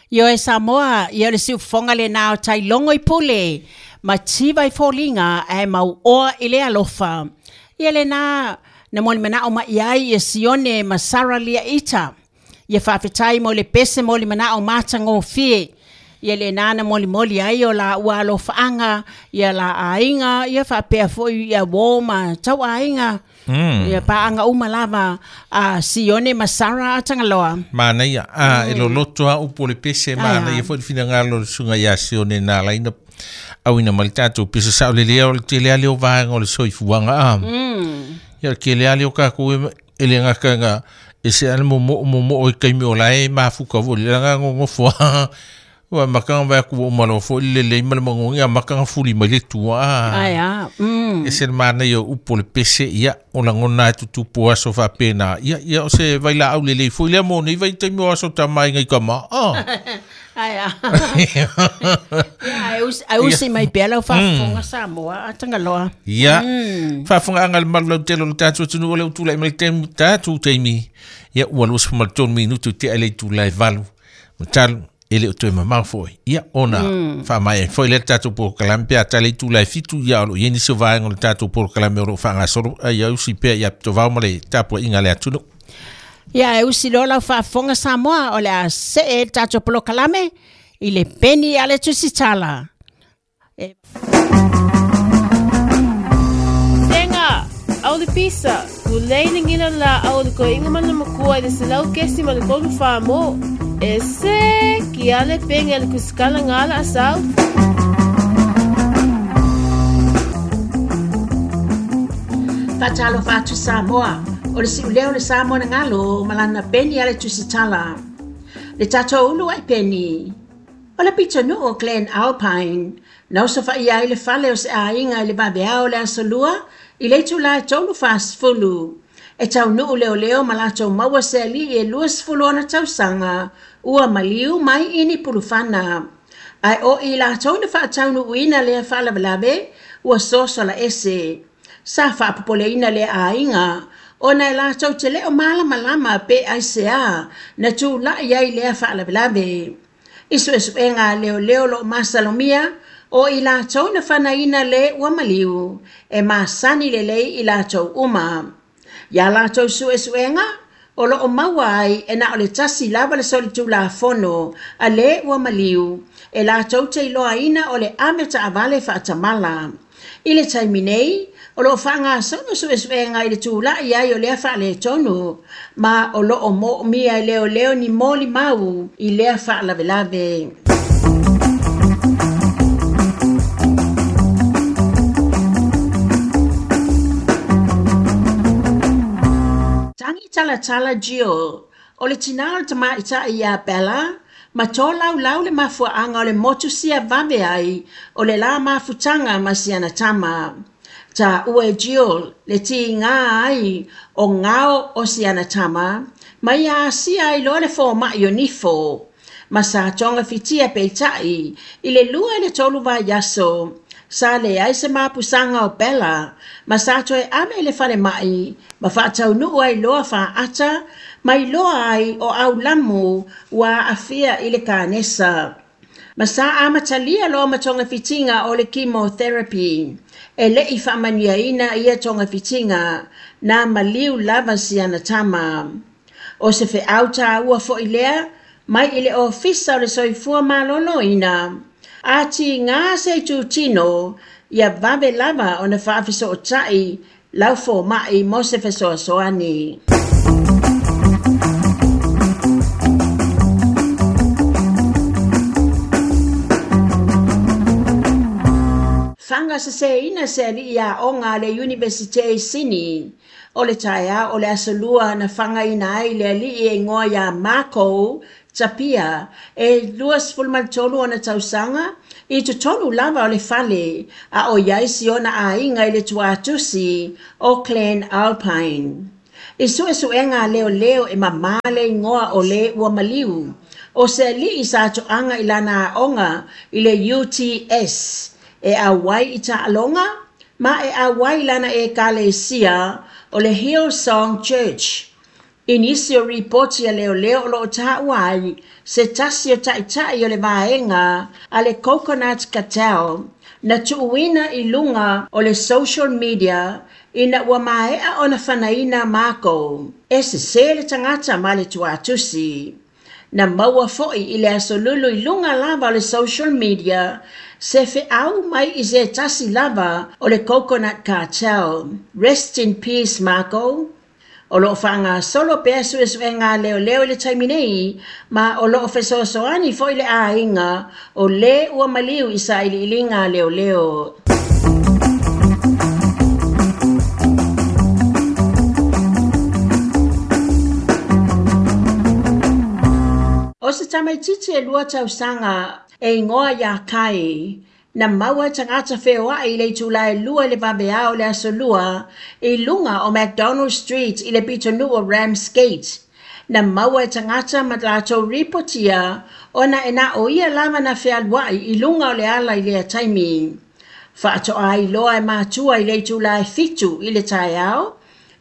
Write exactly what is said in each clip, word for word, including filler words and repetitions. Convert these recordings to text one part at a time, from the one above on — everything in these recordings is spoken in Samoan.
Io e Samoa, ia le siufofoga lenā o tailogo i pule, ma tiva i foliga ae mauoa i le alofa. Ia lenā na molimanao mai ai ia Sione ma Sara Liaita. Ia faafetai mo le pese molimanao matagofie. Ia lenā na molimoli ai o la ua alofaaga, ia la aiga, ia faapea foi ia uō ma tauaiga. Mm. Ia paaga uma lava a Sione ma Sara a Tagaloa. Manaia, a e loloto a upu o le pese, manaia foi le finagalo o le susuga ia Sione na ala ai na auina mai le tatou pese saolelea o le tele ale o vaega o le soifuaga a. Mm. Ia o le tele ale o tatou e le gata e se ale momoo momoo i taimi o la e mafuka foi le laga gogofo a. Ua makanga vai ku o malo fo le le ma le mangongi a makanga fuli mai le tua. Ai a. Mm. E se mana ia upu le pese ia o lagona e tutupu aso faapena. Ia ia o se vailaau lelei foi lea mo nei vaitaimi o aso tamaiga i kama. Ah. Ai a. Ia ai usi ai usi mai pea lau faafofoga Samoa a Tagaloa. Ia. Faafofogaaga le malu lautele o le tatou atunuu o le utulai mai le taimi tatou taimi. Ia ua luasefulu ma le tolu minutu tea i le itula e valu. Matalo e le o toe mamao foi. Ia ona faamaea foi lea le tatou polokalame pe a tala i itula e fitu ia o loo i ai nisi o vaega o le tatou polokalame o loo faagasolo ai ia usi pea ia pitovao ma le tapuaiga a le atunuu. Ia e usi loa lau faafofoga Samoa o le a see le tatou polokalame i le peni a le tusitala. E Sega, au le pisa, ulei le ngila la au le koiga ma le makua i le selau kesi ma le tolu fa mo. E se ki ale penge le kusikala ngala asau. Fatalo fatu Samoa, o le siuleo le Samoa na ngalo, malana peni ale tusitala. Le tatou ulu ai peni. O le pitonuu o Glen Alpine, na osofaia ai le fale o se aiga i le vaveao le aso lua, i le itula e tolu fasefulu. E taunuu leoleo ma latou maua se alii e luasefulu ona tausaga, ua maliu mai i ni pulufana. Ae o i latou na faataunuuina lea faalavelave, ua sosola ese. Sa faapopoleina lea aiga, ona e latou te leo malamalama pe aisea na tulai ai lea faalavelave. I suesuega a leoleo loo masalomia, o i latou na fanaina le ua maliu, e masani lelei i latou uma. Ia latou suesuega, o loo maua ai e na o le tasi lava le solitulafono a le ua maliu, e latou te iloaina o le ave taavale faatamala. I le taimi nei, o loo faagasolo suesuega i le tulai ai o lea faaletonu, ma o loo moomia e leoleo ni molimau i lea faalavelave. Tangi talatala Jill, o le tinā o le tamaitai ia Bella, ma tolaulau le mafuaaga o le motu sia vave ai o le la mafutaga ma siana tama. Taua e Jill le tiga ai o gao o siana tama, ma ia asia ai loa le fomai o nifo. Ma sa togafitia peitai i le lua i le tolu vaiaso, sa leai se mapusaga o Bella, ma sa toe ave i le falemai, ma faataunuu ai loa faata, ma iloa ai o aulamu ua aafia i le kanesa. Ma sa amatalia loa ma togafitiga o le chemotherapy. E le'i faamanuiaina ia togafitiga, na maliu lava siana tama. O se feau tāua foi lea, mai i le ofisa o le soifua maloloina. A tiga se itutino, ia vave lava ona faafesootai lau fomai mo se fesoasoani. Faga seseina se alii aoga a le Universite i Sini. O le taeao o le aso lua na fagaina ai le alii e igoa iā Marco Tapia e luasefulu ma le tolu ona tausaga i totonu lava o le fale a o iai si ona aiga i le tuatusi o Glen Alpine. I suesuega a leoleo e mamā le igoa o le ua maliu, o se alii sa toaga i lana aoga i le U T S e auai i taaloga ma e auai i lana ekalesia o le Hillsong Church. I nisi o ripoti a leoleo o loo taua ai se tasi o ta'ita'i o le vaega a le Coconut Cartel na tuuina i luga o le social media ina ua mae'a ona fanaina Marco e sesē le tagata ma le tuatusi. Na maua fo'i i le aso Lulu i luga lava o le social media se fe'au mai i se tasi lava o le Coconut Cartel. Rest in peace, Marco. O loo faagasolo pea suesuega a leoleo i le taimi nei ma o loo fesoasoani fo'i le aiga o lē ua maliu i sailiiliga a leoleo. O se tamaitiiti e lua tausaga e igoa iā Kai na maua e tagata feoa'i i le itulā e lua i le vaveao o le aso Lua i luga o McDonald Street i le pitonuu o Ramsgate. Na maua e tagata ma latou ripotia ona e na o ia lava na fealua'i i luga o le ala i lea taimi. Faato'a iloa e matua i le itulā e fitu i le taeao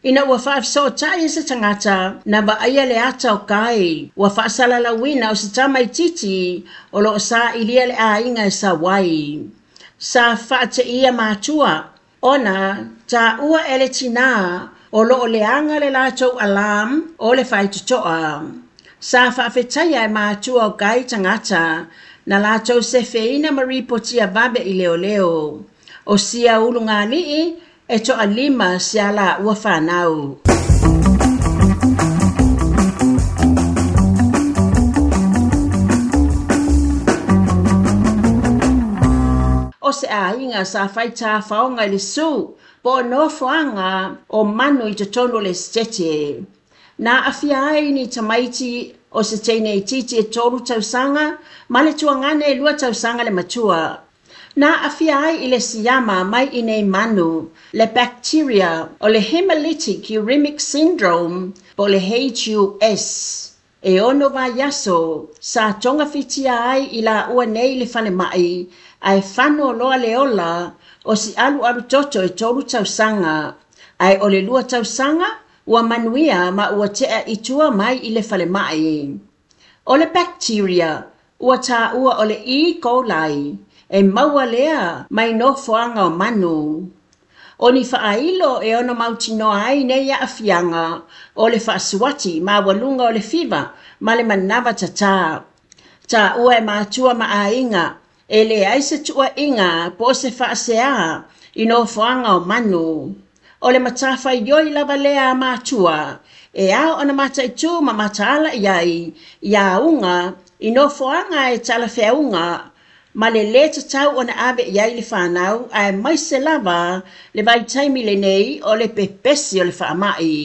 ina ua faafesootai e se tagata na vaaia le ata o Kai ua faasalalauina o se tamaitiiti o loo sailia le aiga e sau ai. Sa faateia matua ona taua e le tinā o loo leaga le latou alarm o le faitotoa. Sa faafetaia e matua o Kai tagata na latou sefeina ma ripotia vave i leoleo. O sia ulugalii e to'alima se ala ua fanau. O se aiga sa fai tafaoga i le sū po o nofoaga o manu i totonu o le esetete. Na aafia ai ni tamaiti o se teine itiiti e tolu tausaga ma le tuagane e lua tausaga le matua. Na aafia ai i le siama mai i nei manu le bacteria o le hemolytic uremic syndrome po o le H U S. E ono vaiaso sa togafitia ai i laua nei i le falema'i ae fano loa le ola o si alualu toto e tolu tausaga ae o le lua tausaga ua manuia ma ua te'a i tua mai i le falema'i. O le bacteria ua taua o le E. coli e maua lea mai nofoaga o manu. O ni faailo e ono mautinoa ai nei aafiaga o le faasuati maualuga o le fiva ma le manava tatā. Taua e matua ma aiga e leai se tuua'iga po o se faaseā i nofoaga o manu. O le matafaioi lava lea a matua e ao ona mataitū ma mataala i ai i auga i nofoaga e talafeauga ma le lē tatau ona ave i ai le fanau aemaise lava le vaitaimi lenei o le pepesi o le faama'i.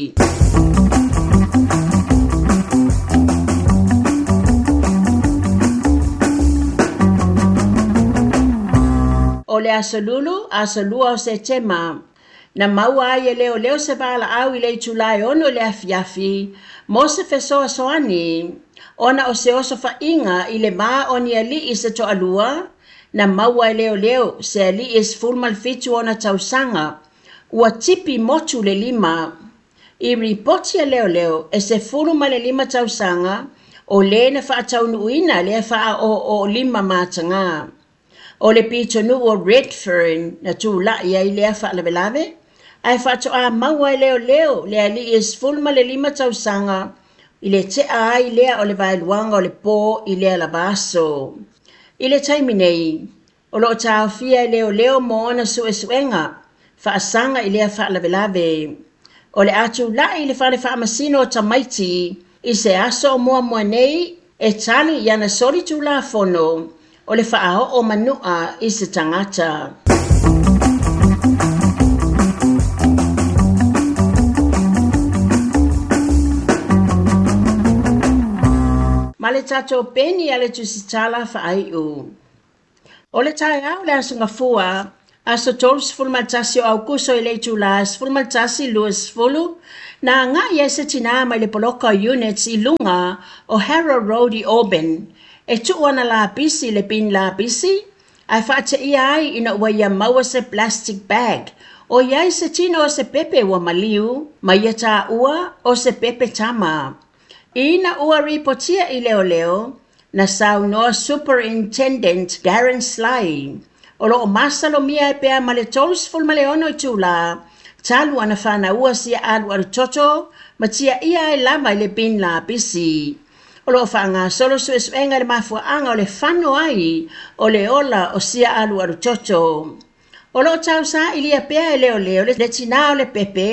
O le aso Lulu, aso lua o Setema, na maua ai e leoleo se valaau i le itulā e ono i le afiafi mo se fesoasoani ona o se oso fa'iga i le vā o ni ali'i se to'alua na maua e leoleo se ali'i e sefulu ma le fitu ona tausaga ua tipi motu le lima. I ripoti a leoleo e sefulu ma le lima tausaga o lē na faataunuuina lea faaooolima matagā. O le pitonuu o Redfern na tula'i ai lea faalavelave ae faato'a maua e leoleo le ali'i e sefulu ma le lima tausaga i le te'a ai lea o le vaeluaga o le pō i lea lava aso. I le taimi nei, o loo taofia e leoleo mo ona su'esu'ega faasaga i lea faalavelave. O le a tula'i i le fale faamasino o tamaiti i se aso o muamua nei e tali i ana soli tulafono o le faaoo manu'a i se tagata. Ma le tatou peni a le tusitala faai'u. O le taeao le aso Gafua, aso tolu ma le tasi o Aukuso i le itulā sefulu ma le tasi luasefulu, na aga'i ai se tinā mai le poloka o units i luga o Harrow Road i Auburn e tuu ana lapisi i le bin lapisi ae faateia ai ina ua ia maua se plastic bag O iai se tino o se pepe ua maliu, ma ia tāua o se pepe tama. Ina ua ripotia i leoleo, na saunoa Superintendent Darren Sly. O loo masalomia e pea ma le tolu ma le ono itulā, talu ana whānaua sia alu alu toto, ma tia ia ai lava i le bin lapisi. O loo whaangasolo suesuega le mafuaanga o le fano ai o le ola o sia alu alu toto. O loo tausaili pea e leoleo le tinā o le pepe,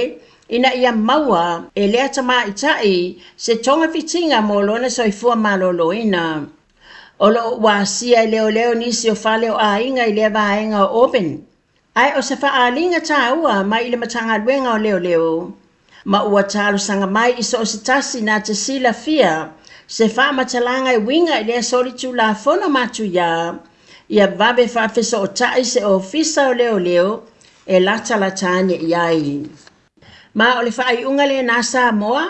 ina ia maua e lea tamaitai se togafitiga mo lona soifua malōlōina. O loo ua asia e leoleo nisi o fale o aiga i lea vaega o Auburn. Ae o se faaaliga tāua mai i le Matagaluega o Leoleo. Ma ua talosaga mai i so o se tasi na te silafia se faamatalaga e uiga i lea solitulafono matuiā, ia vave faafesootai se ofisa o leoleo e latalata ane i ai. Ma o le faaiuga lenā Samoa,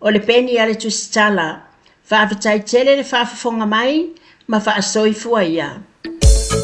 o le peni a le Tusitala. Faafetai tele le faafofoga mai ma faasoifua ia.